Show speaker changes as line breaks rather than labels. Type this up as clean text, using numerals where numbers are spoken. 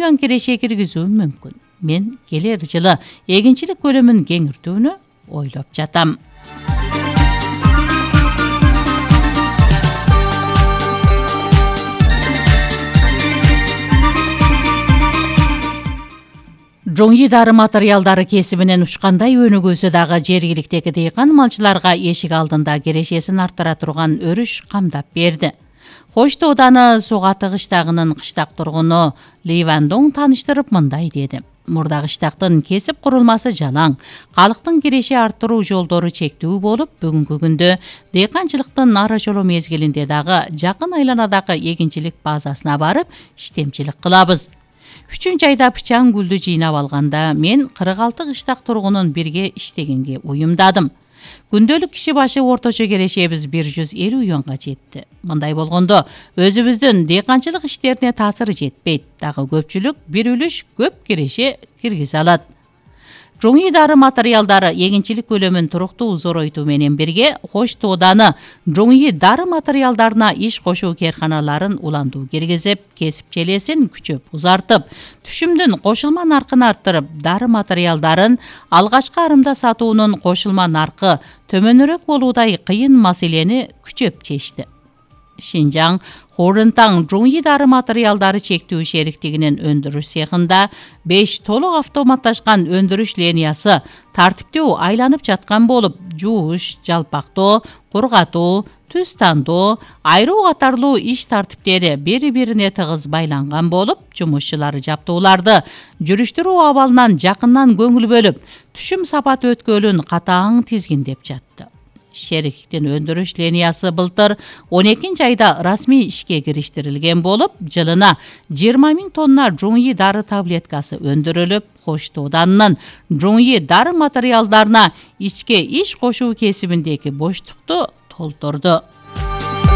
миллион киреше киргизүү мүмкүн. Мен келер жылы эгинчилик көлөмүн кеңиртүүнү ойлоп жатам. Жоңи дары материалдары кесибинен учкандай өнүгүүсү дагы жергиликтеги дыйкан малчыларга эшик алдында кирешесин арттыра турган өрүш камдап берди. Хош Тооданы Суга кыштагынын кыштак тургуну Ли Ван Доң тааныштырып мындай деди. Мурда кыштактын кесип курулмасы жалаң, калктын киреше арттыруу жолдору чектүү болуп, бүгүнкү күндө дыйканчылыктын нары жолу мезгилинде дагы жакын айланадагы эгинчилик базасына барып иштемчилик кылабыз. 3-айда пычаң гүлдү жыйнап алганда мен 46 кыштак тургунун бирге иштегенге уюмдадым. Күндөлүк киши башы орточо кирешебиз 150 юанга жетти. Мындай болгондо өзүбүздүн дыйканчылык иштерине таасыры жетпейт, дагы көпчүлүк бир үлүш көп киреше киргизе алат. Жоңи дары материалдары эгинчилик көлөмүн туруктуу зоройтуу менен бирге Хош Тооданы жоңи дары материалдарына иш кошуу керканаларын уландуу киргизип, кесип челесин күчөп узартып, түшүмдүн кошулма наркын арттырып, дары материалдарын алгачкы арымда сатуунун кошулма наркы төмөнүрөөк болуудай кыйын маселени күчөп чечти. Шинжаң Хорунтаң жоңи дары материалдары чектүү шериктигинин өндүрүш цехында 5 толук автоматташкан өндүрүш линиясы тартиптүү айланып жаткан болуп, жууш, жалпактоо, кургатуу, түз тандоо, айруу катарлуу иш тартиптери бири-бирине тыгыз байланган болуп, жумушчулар жаптууларды жүрүштүрүү абалынан жакындан көңүл бөлүп, түшүм сапат өткөлүн катаң тизгиндеп жатты. Шериктиктин өндүрүш линиясы былтыр 12-айда расмий ишке кириштирилген болуп, жылына 20 000 тонна жоңи дары таблеткасы өндүрүлүп, Хош Тооданын жоңи дары материалдарына ичке иш кошуу кесибиндеги боштукту толтурду.